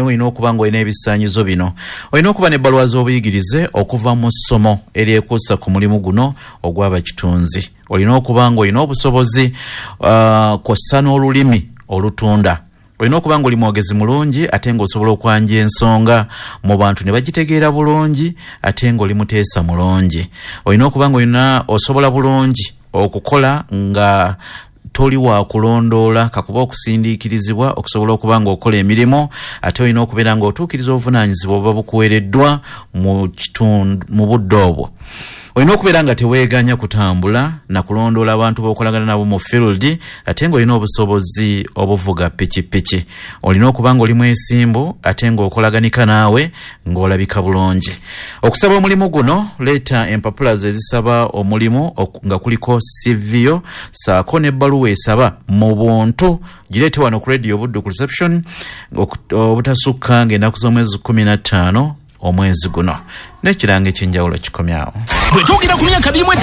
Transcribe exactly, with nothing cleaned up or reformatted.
Olina okuba ng'olina ebisaanyizo bino: olina okuba n'ebbaluwa z'obuyigirize okuva mu ssomo eryekuusa ku mulimu guno ogw'abakitunzi, olina okuba ng'olina obusobozi uh, kw'ossa n'olulimi olutunda, olina okuba ng'oli mwogezi mulungi ate ng'osobola okwanja ensonga mu bantu ne bagitegeera bulungi, ate ng'oli muteesa mulungi, olina okuba ng'olina osobola bulungi okukola nga toli wa kulondoola kakuba okusindiikirizibwa okusobola okuba ng'okola emirimu, ate olina okubeera ng'otuukiriza obuvunaanyizibwa obuba bukuweereddwa mu kitundu mu budde obwo. Olina okubeera nga teweeganya kutambula na kulondoola abantu b'okolagana nabo mu field, ate ng'olina obusobozi obuvuga pikipiki. Olina okuba ng'oli mwesimbu ate ng'okolaganika naawe ng'olabika bulungi. Okusaba omulimu guno, leeta empapula ze ezisaba omulimu nga kuliko C V yo saako n'ebbaluwa esaba mu buntu, gireete wano ku Radio Buddu ku reception obutasukka ng'ennaku z'omwezi kumi na ttaano omwezi guno. N'ekirango ekyenjawulo kikomyawo. Bwe twogera ku myaka birimu.